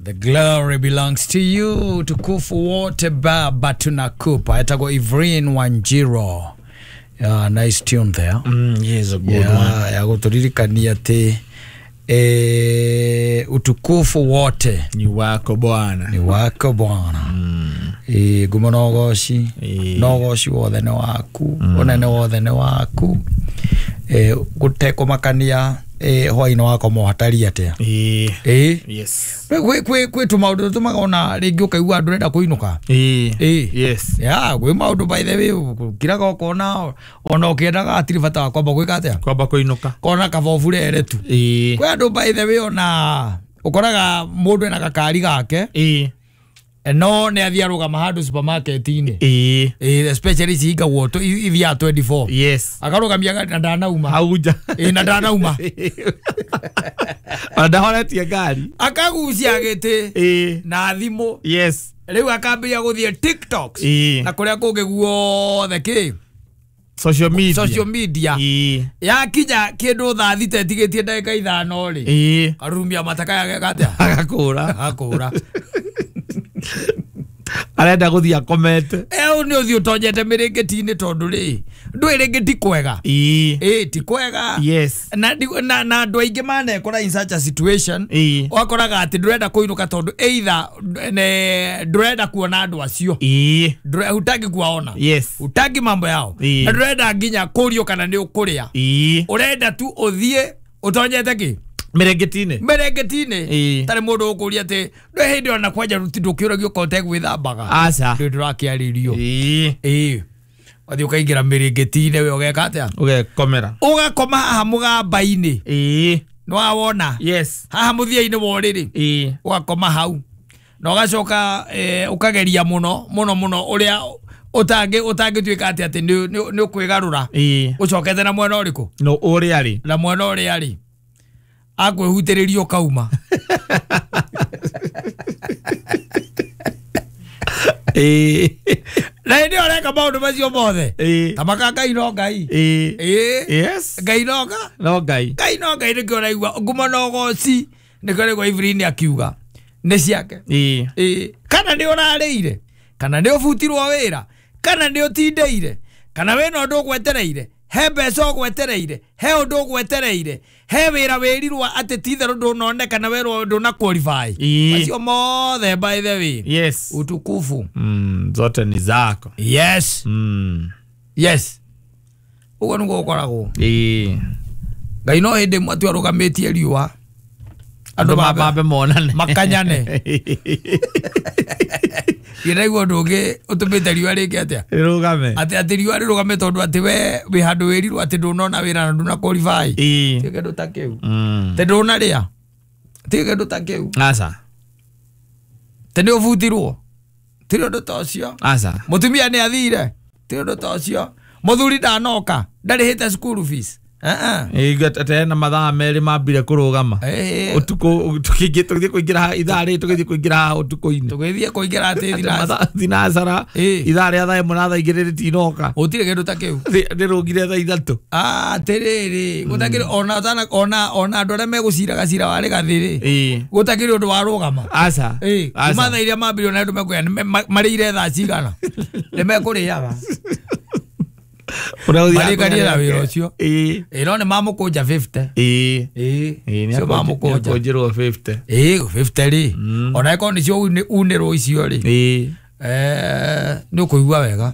The glory belongs to you. Utukufu wote Baba tunakupa. Etagwo Evelyn Wanjiru. Yeah, nice tune there. Yes, a good one. Ya guturirikania ati utukufu wote ni wako Bwana. Ni wako Bwana. Ngumo na ugoci. Na ugoci wothe ni waku. Unene wothe ni waku. Gutekumakania hwaino wako mohatari atia. Yes. Kwi tu maundu tumaga ona ringi ukaigua ndurenda kuinuka. Yes. Ya kwi maundu by the way kiraga ukona ona ukiendaga atiri bata wa kwamba gwika atia. Kwamba kuinuka. Kona kabobure tu. Kwi andu by the way ona ukoraga mundu ena gakari gake. No ne athia rugama handu supermarket-ini. Especially cihingagwo ithiaga 24. Yes. Akarugamia ngari na ndanauma. Hau nja. Na ndanauma. Ona ndahoretie ngari. Akagucia gĩtĩ. Na thimũ. Yes. Rĩu akambĩrĩria gũthiĩ TikToks. Na kũrĩa kũngĩ guothe kĩ? Social media. Social media. Yakinya kĩndũ thaa thita ĩtigĩtie ndagĩka ithano rĩ. Karurumia mataka yake atĩa? Agakũra. Agakũra. Arenda guthia akomete. Ni uthi utonyete miringiti-ini tondu ri ndui ringi ti kwega. Ti kwega. Yes. Na na andu aingi manekora in such a situation. Wakoraga ati ndurenda kuinuka tondu either ndurenda kuona andu acio. Hutaki kuwaona. Yes. Hutaki mambo yao. Na ndurenda nginya kurio kana ni ukuria. Urenda tu uthie utonyete ki mirengetini. Mirengetini. Tari mundu ukuria ati ndwe hindi ona kwanja ndukiuragio kote gwithambaga. Aca. Ndu ndurakiaririo. Wathi ukaingira mirengetini we ugeka atia? Ugekomera. Ugakoma haha mugamba-ini. Niwawona? Yes. Haha muthia-ini wa uriri. Ugakoma hau. Na ugacoka ukageria muno muno muno uria utangituika ati ati ni ukwigarura. Ucokete na mwena uriku? No uria ari. Na mwena uria ari. Akwihutiririo kauma. Na hindi ureka maundu macio mothe. Ta maka Ngai no Ngai. Yes. Ngai no no Ngai. Ngai no Ngai nikio uraigua ngumo na ugoci nikio uraigua Evelyn akiuga ni ciake. Kana ni urariire, kana ni ubutirwo wira, kana ni utindeire, kana wina undu ugwetereire, he mbeca ugwetereire, he undu ugwetereire, he wira wirirwo ati ti itherũ ndunoneka na werwo nduna qualify. Macio mothe by the way. Yes. Utukufu. Zote ni zako. Yes. Yes. Uguo niguo ukoragwo. Ngai no hindi ĩmwe tu arũgamĩtie riũa andu mambe monane makanyane. Ndĩraigua ũndũ ũngĩ ũtũmĩte riũa rĩke atĩa? Rĩrũgame. Atĩ atĩ riũa rĩrũgame tondũ atĩ we wĩ handũ wĩrirwo atĩ ndũnona wĩra na ndũna qualify. Ti kĩndũ ta kĩu. Atĩ ndũnarĩa. Ti kĩndũ ta kĩu. Aca. Atĩ nĩ ũbutirwo. Ti ũndũ ta ũcio. Aca. Mũtumia nĩ athire. Ti ũndũ ta ũcio. Mũthuri ndanoka. Ndarĩhĩte school fees. Ate na mathaa merĩ mambire kũrũgama. Ũtukũ tũgĩthiĩ kũingĩra ithaa rĩrĩ tũgĩthiĩ kũingĩra ũtukũ-inĩ. Tũgĩthiĩ kũingĩra atĩ thinacara ithaa rĩa thaa ĩmwe na thaa igĩrĩ rĩtinoka. Gũtirĩ kĩndũ ta kĩu. Rĩrũgire thaa ithatũ. Atĩrĩrĩ gũtakĩrĩ ona andũ arĩa megũciraga cira wa rĩgathĩ rĩ. Gũtakĩrĩ ũndũ warũgama. Aca. Kuma thaa iria mambirie na andũ mekuoya marĩire thaa cigana. Nĩ mekũrĩaga. Marĩkanie na wĩra ũcio. No nĩ mamũkũnja 50. Cio mamũkũnja. Nĩakũnjĩrwo 50. 50 rĩ. Ona ĩkorwo nĩcio unĩrwo icio rĩ. Nĩ ũkũigua wega.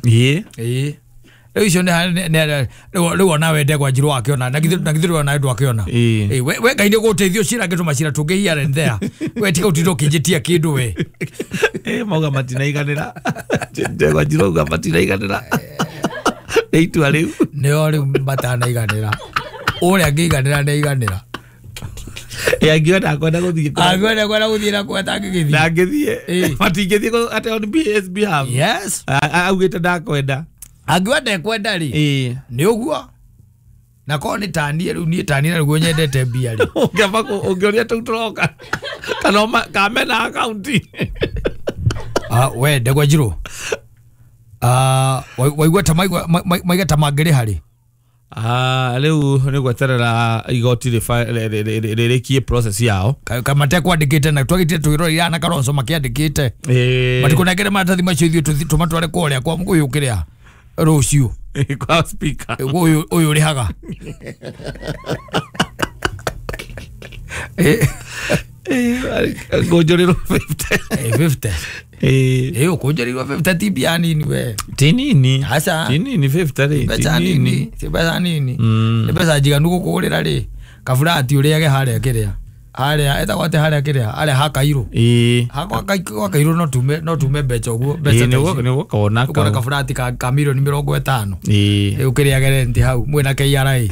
Rĩu icio rĩu ona we Ndegwa Njirũ akĩona na githĩ ona ndwakĩona. We Ngai nĩ gũteithio cira ngĩtũma cira tũngĩ here and there. We tiga ũtinde ũkĩnjĩtia kĩndũ we. Mauga matinaiganĩra. Ndegwa Njirũ auga matinaiganĩra. Nĩ itua rĩu. Nĩo rĩu matanaiganĩra. Ũrĩa angĩiganĩra nĩaiganĩra. Angiona akwenda gũthiĩ. Angiona kwenda gũthiĩ na kwa atangĩgĩthiĩ. Ndangĩthiĩ. Matingĩthiĩ atĩ on his behalf. Yes. Augĩte ndakwenda. Angiuga ndekwenda rĩ. Nĩ ũguo. Na korwo nĩ taniĩ rĩu niĩ taniĩ na nĩguo nyendete mbia rĩ. Ũngĩamba ũngĩũria tũu tũroka. Kana kamena akaunti. We Ndegwa Njirũ. Waigua ta maiga ta mangĩrĩha rĩ? Rĩu nĩ gweterera igoti rĩrĩkie process yao. Kamate kwandĩkĩte na twagĩtire twĩrorera na Kalonzo makĩandĩkĩte. Matikũnengere maratathi macio ithuĩ tũmatware kũrĩa kwa ũyũ kĩrĩa rũciũ. Kwa speaker. Ũyũ ũrĩhaga. Ngũnjũrĩrwo 50. 50. Ũkũnjũrĩrwo 50 ti mbia nini we. Ti nini. Aca. Ti nini 50 rĩ. Mbeca nini. Ti mbeca nini. Nĩ mbeca njiganu gũkũgũrĩra rĩ. Kaburati ũrĩage harĩa kĩrĩa. Harĩa etagwo atĩ harĩa kĩrĩa harĩa ha Kairũ. Gwa Kairũ no tume mbeca ũguo. Mbeca nĩ ũgũkona. Ũkona kaburati ka milioni 50. Ũkĩrĩage renti hau mwĩna KRA.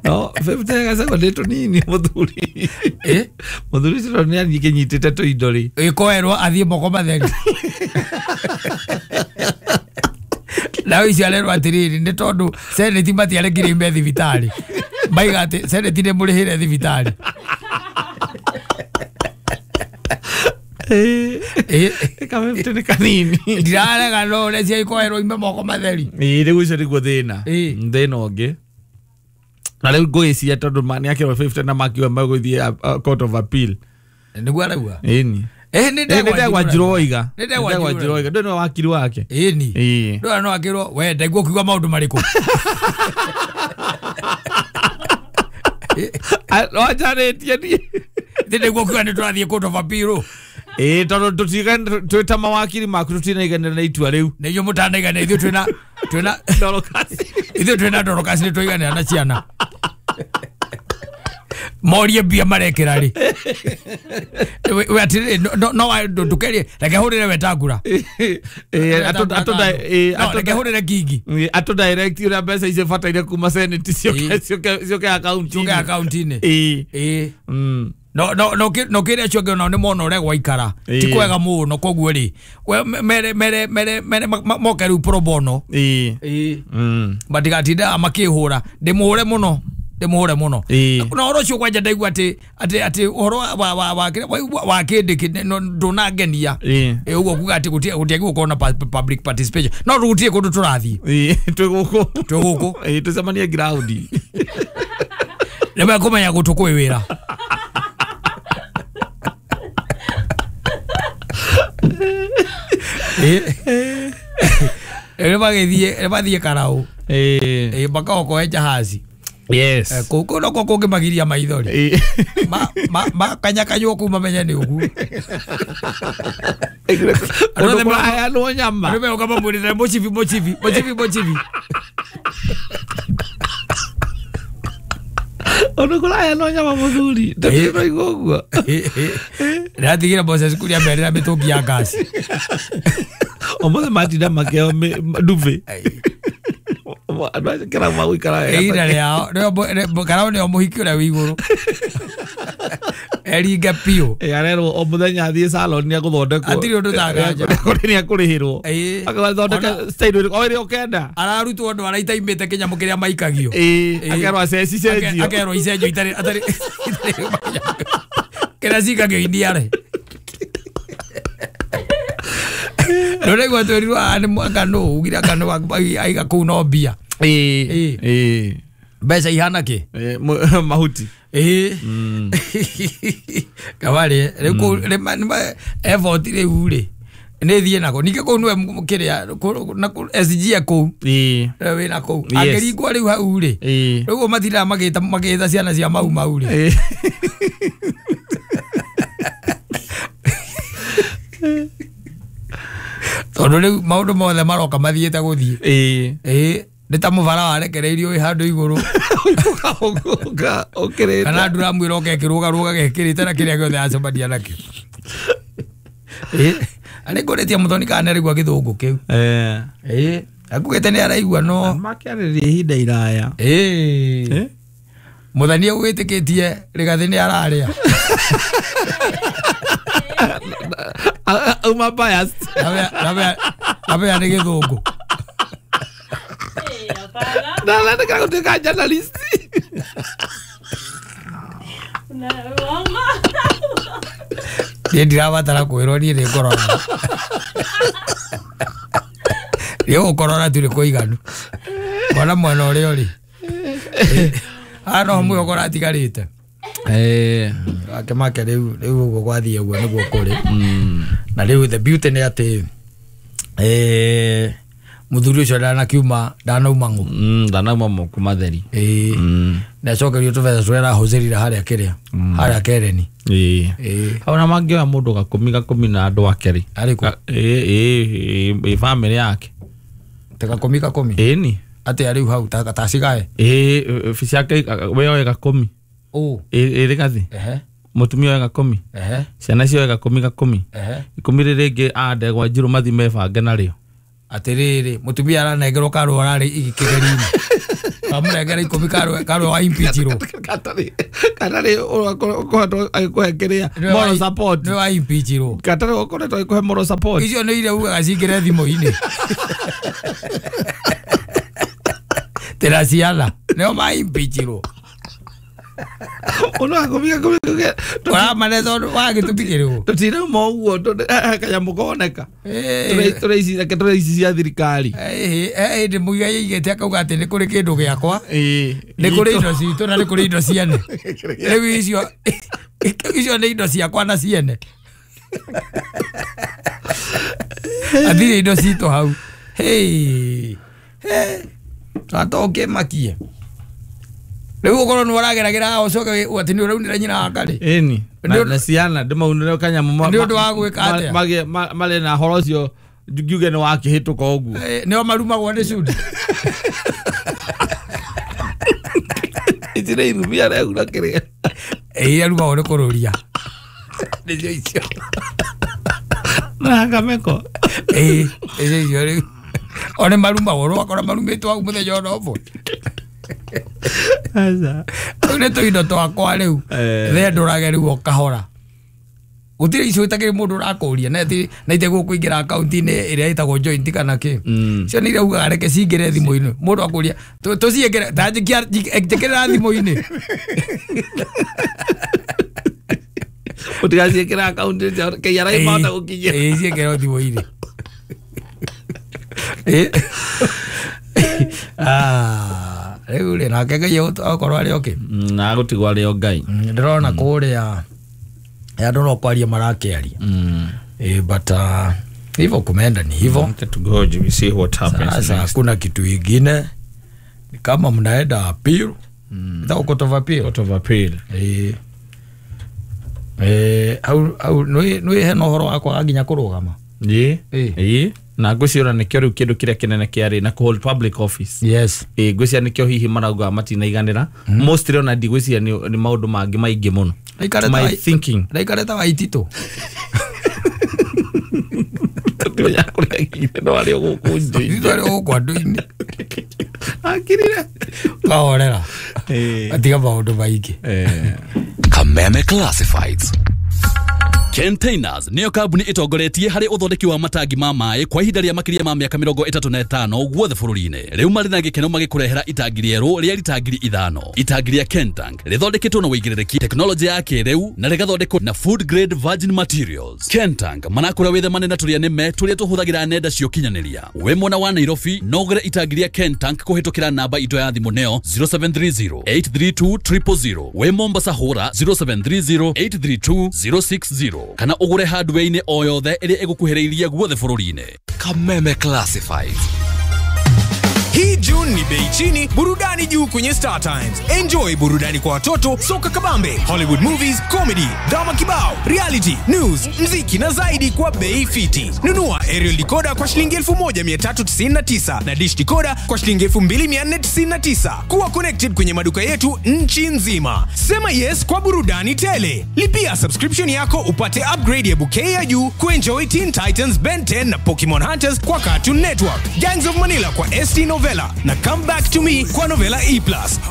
No 50 gacagwo nĩ tũnini mũthuri. Mũthuri ũcio nĩ akĩnyitĩte tũindo rĩ. Ĩkoerwo athiĩ moko matheri. Nao icio arerwo atĩrĩrĩ nĩ tondũ seneti matiarekire ime thibitarĩ. Maiga atĩ seneti nĩ mũrĩhĩre thibitarĩ. Ka 50 nĩ kanini. Ndirarega no ũrĩa cia ikoerwo ime moko matheri. Rĩu ũcio nĩguo thĩna. Thĩna ũngĩ. Na rĩu ngũgĩciria tondũ nĩ akĩrwo 50 na makiuga megũthiĩ court of appeal. Nĩguo arauga? Ĩni. Nĩ Ndegwa Njirũ oiga. Ndegwa Njirũ oiga. Ndũĩ nĩwe wakiri wake. Ĩni. Ndũĩ no akĩrwo we ndaigua ũkiuga maũndũ marĩkũ. Wanjarĩtie niĩ. Ndaigua ũkiuga nĩ tũrathiĩ court of appeal. Tondũ twĩ ta mawakiri maku tũtinaiganĩra na itua rĩu. Nĩ inyuĩ mũtanaiganĩra ithuĩ twĩna Dorokasi. Ithuĩ twĩna Dorokasi nĩ twaiganĩra na ciana. Morie mbia marekĩra rĩ. We atĩrĩrĩ no ndũkerie reke hũrĩre Wetangula. Reke hũrĩre Kingi. Atũ direct ũrĩa mbeca icio bataire kuma senate ciũke akaunti-inĩ. No kĩrĩa acio angĩ onao nĩ mona ũrĩa gwaikara. Ti kwega mũno koguo rĩ mere mere mere mere moke rĩu pro bono. Matigatinda makĩhũra ndĩmũhũre mũno. Ndĩmũhũre mũno. Na ũhoro ũcio kwanja ndaigua atĩ atĩ ũhoro wa kĩndĩ ndũnangenia. Ũguo kuga atĩ gũtiagĩrĩirwo gũkorwo na public participation. No gũtirĩ kũndũ tũrathiĩ. Twĩ gũkũ. Twĩ gũkũ. Tũcemanie ground. Nĩ mekũmenya gũtũ kwĩ wĩra. Nĩ mathiĩ Karau. Makaokoe jahazi. Yes. Kũu no kũngĩmagiria maithori. Makanyakanywo kũu mamenye nĩ ũguo. Andũ maraheanwo nyama. Andũ meũka mamwĩrĩte mũcibi mũcibi mũcibi mũcibi. Andũ kũraheanwo nyama mũthuri. Ndĩraigua ũguo. Ndĩratigĩra Moses Kuria merĩra mĩtũngi ya ngasi. Ũmũthĩ matinda makĩheo ndubi. Andũ acio kĩrabu magũikara wega. Ihinda rĩao Karau nĩo mũhiki ũrĩa wĩ igũrũ. Eringe biũ. Arerwo o mũthenya athiĩ salon nĩ egũthondekwo. Hatirĩ ũndũ ta nganja. Nĩ ekũrĩhĩrwo. Agathondeka style o ĩrĩa ũkenda. Ararutwo andũ arĩa itaimĩte kĩnyamũ kĩrĩa maikagio. Akerwo aceci cenjio. Akerwo icenjio itarĩ atarĩ kĩrĩa cikagio iniare. Ndũraigua twĩrirwo anga nũ ugire anga nũ aiga kũu no mbia. Mbeca ihana kĩ? Mahuti. Kabarĩ rĩu kũu effort rĩu rĩ nĩ thiĩ nako ningĩ kũu nĩwe kĩrĩa SG e kũu wĩna kũu angĩringwo rĩu hau rĩ rĩu ũguo matindaga magĩta ciana cia mau mau rĩ. Tondũ rĩu maũndũ mothe maroka mathiĩte gũthiĩ. Nĩ ta mũbara warekereirio wĩ handũ igũrũ. Kana nduramu ĩroka ĩkĩrũgarũga gekĩrĩte na kĩrĩa gĩothe acemania nakĩo. Nĩ ngũrĩtie Mũthoni kana nĩ araigua gĩthũngũ kĩu. Akugĩte nĩ araigua no makĩarĩria ihinda iraya. Mũthoni agwĩtĩkĩtie Rĩgathĩ nĩ ararĩa. Uma biased. Nabe nĩ gĩthũngũ. Na nataka kutoka journalist. Niĩ ndirabatara kwĩrwo niĩ nĩ ngorora. Rĩu ũkorora tũrĩ kũiganu. Mwana mwena ũrĩa ũrĩ. Ano mwĩhoko ũratigarĩte. Ake make rĩu ũguo gwathiĩ ũguo nĩguo kũrĩ. Na rĩu the beauty nĩ atĩ muthuri ũcio ndanakiuma ndanauma ng'ũ. Ndanauma moko matheri. Na acokerio tũbeca tũrĩa arahũthĩrire harĩa kĩrĩa. Harĩa Kereni. Hau na mangĩoya mũndũ gakũmi na andũ ake rĩ. Arĩkũ? Family yake. Ta gakũmi? Ĩni. Atĩa rĩu hau ta cigae? Ciake we oe gakũmi. Ĩrĩ gathi. Mũtumia oe gakũmi. Ciana cioe gakũmi. Ikũmi rĩrĩ rĩngĩ a ndegwa njirũ mathi mebange narĩo. Atĩrĩrĩ mũtumia aranengerwo karũa ararĩ igĩkĩgeri-inĩ. Amũnengera ikũmi karũa wa impeachirwo. Katarĩ ũkoretwo agĩkũhe kĩrĩa moral support. Nĩ wa impeachirwo. Katarĩ ũkoretwo agĩkũhe moral support. Icio nĩ iria ugaga cingĩre thimũ-inĩ. Tĩra ciana nĩo ma impeachirwo. Ono gakũmi Ũramane tondũ wa gĩtũmi kĩrĩkũ? Tũtirauma ũguo kanyamũ koneka. Tũrĩ ici cia thirikari. Hĩndĩ Muigai aigĩte akauga atĩ nĩ kũrĩ kĩndũ gĩakwa, nĩ kũrĩ indo citũ na nĩ kũrĩ indo ciene. Rĩu icio nĩ indo ciakwa na ciene. Athire indo citũ hau. Atokĩmakie. Rĩu ũkorwo nĩ ũrageragĩra haha ũcoke atĩ nĩ ũraunĩra nyina wa karĩ. Ĩni. Na ciana ndĩmaunĩre kanyamũ nĩ ũndũ wa gwĩka atĩa? Marĩ na horo ũcio ngiuge nĩ wakĩhĩtũka ũguo. Nĩo marumagwo nĩ cudi. Ici nĩ irumi arehura kĩrĩa. Arumagwo nĩ kũrũria. Nĩcio icio. Na kameko. Nĩcio icio rĩu. O nĩ marumagwo ũgakora marumĩtwo hau mũthenya ona ũmwe. Rĩu nĩ tũindo twakwa rĩu thendũrage rĩu o kahora. Gũtirĩ icio itakĩrĩ mũndũ ũrakũria na itegũkũingĩra akaunti-inĩ ĩrĩa ĩtagwo joint kana kĩ. Icio nĩ iria ugaga reke cingĩre thimũ-inĩ. Mũndũ akũria tũciĩkĩre ta njĩkĩrĩra thimũ-inĩ. Ũtigaciĩkĩra akaunti KRA mahota gũkinyĩra. Ciĩkĩrwo thimũ-inĩ. Rĩu rĩ nake Ngai okorwo arĩ okay. Na agũtigwo arĩ o Ngai. Ndĩrona kũrĩa andũ no kwaria marakĩaria. But hivyo kumeenda ni hivyo. Tugoje we see what happens. Sasa hakuna kitu ingine. Ni kama mnaenda appeal. Ndio court of appeal. Court of appeal. Au nĩ hena ũhoro wakwa nginya kũrũgama. Na ngwĩciria nĩkĩo rĩu kĩndũ kĩrĩa kĩnene kĩarĩ na kũhold public office. Yes. Ngwĩciria nĩkĩo hihi marauga matinaiganĩra. Mostly ona ndigwĩciria nĩ maũndũ mangĩ maingĩ mũno. My thinking. Raikarĩte wa ititũ. Tũtimenya kũrĩa agĩire no arĩ o gũkũ nja. Arĩ o gũkũ andũ-inĩ. Akirire. Kahorera. Atiga maũndũ maingĩ. Kameme Classifieds. Containers niyo kambuni itongoretie harĩ ũthondeki wa matangi ma maĩ kwa ihinda rĩa makĩria ma mĩaka 35 guothe bũrũri-inĩ. Rĩu marĩ na gĩkeno magĩkũrehera itangi rĩerũ rĩa rita 5,000. Itangi rĩa Kentank rĩthondeketwo na ũigĩrĩrĩki tekinoronjĩ ya kĩrĩu na rĩgathondekwo na food grade virgin materials. Kentank manakũra wĩthemane na tũrĩa nĩme tũrĩa tũhũthagĩra nenda cia ũkinyanĩria. Wĩ mwena wa Nairobi no ũgũre itangi rĩa Kentank kũhĩtũkĩra namba itũ ya thimũ nĩyo 0730 832 000. Wĩ Mombasa hũra 0730 832 060. Kana ũgũre hardware-inĩ o yothe ĩrĩa ĩgũkuhĩrĩirie guothe bũrũri-inĩ. Kameme Classifieds. Hii June ni bei chini, burudani juu kwenye Star Times. Enjoy burudani kwa watoto, soka kabambe, Hollywood movies, comedy, drama kibao, reality, news, mziki na zaidi kwa bei fiti. Nunua aerial decoder kwa shilingi 1399 na dish decoder kwa shilingi 2499. Kuwa connected kwenye maduka yetu nchi nzima. Sema yes kwa burudani tele. Lipia subscription yako upate upgrade ya bouquet ya juu kuenjoy Teen Titans, Ben 10 na Pokemon Hunters kwa Cartoon Network, Gangs of Manila kwa ST Novella na Come Back to Me kwa Novella E+,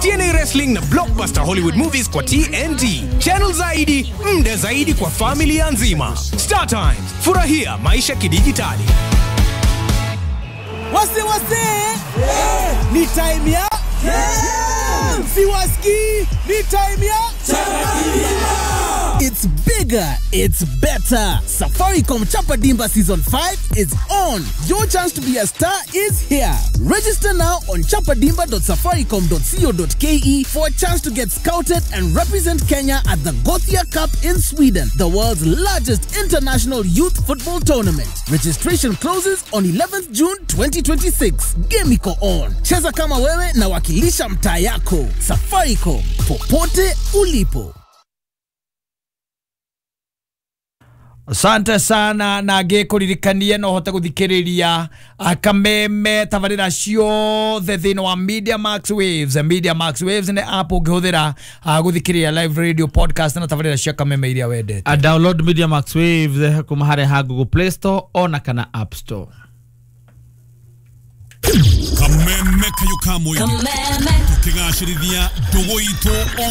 TNA Wrestling na Blockbuster Hollywood Movies kwa TNT. Channel zaidi, mda zaidi kwa familia nzima. Star Times, furahia maisha kidijitali. Wase wase, yeah. Ni time ya yeah. Siwaski, ni time ya yeah. It's big bigger, it's better. Safaricom Chapa Dimba Season 5 is on. Your chance to be a star is here. Register now on chapadimba.safaricom.co.ke for a chance to get scouted and represent Kenya at the Gothia Cup in Sweden, the world's largest international youth football tournament. Registration closes on 11th June 2026. Game iko on. Cheza kama wewe na wakilisha mtaa yako. Safaricom, popote ulipo. Asante sana na ngĩkũririkanie no hote gũthikĩrĩria kameme tabarĩra ciothe thĩinĩ wa Media Max Waves. Media Max Waves nĩ app ũngĩhũthĩra gũthikĩrĩria live radio, podcast na tabarĩra cia kameme iria wendete. A download Media Max Waves kuma harĩa ha Google Play Store ona kana App Store. Kameme kayo ka mũingĩ, tũkĩgacĩrithia ndũgũ itũ.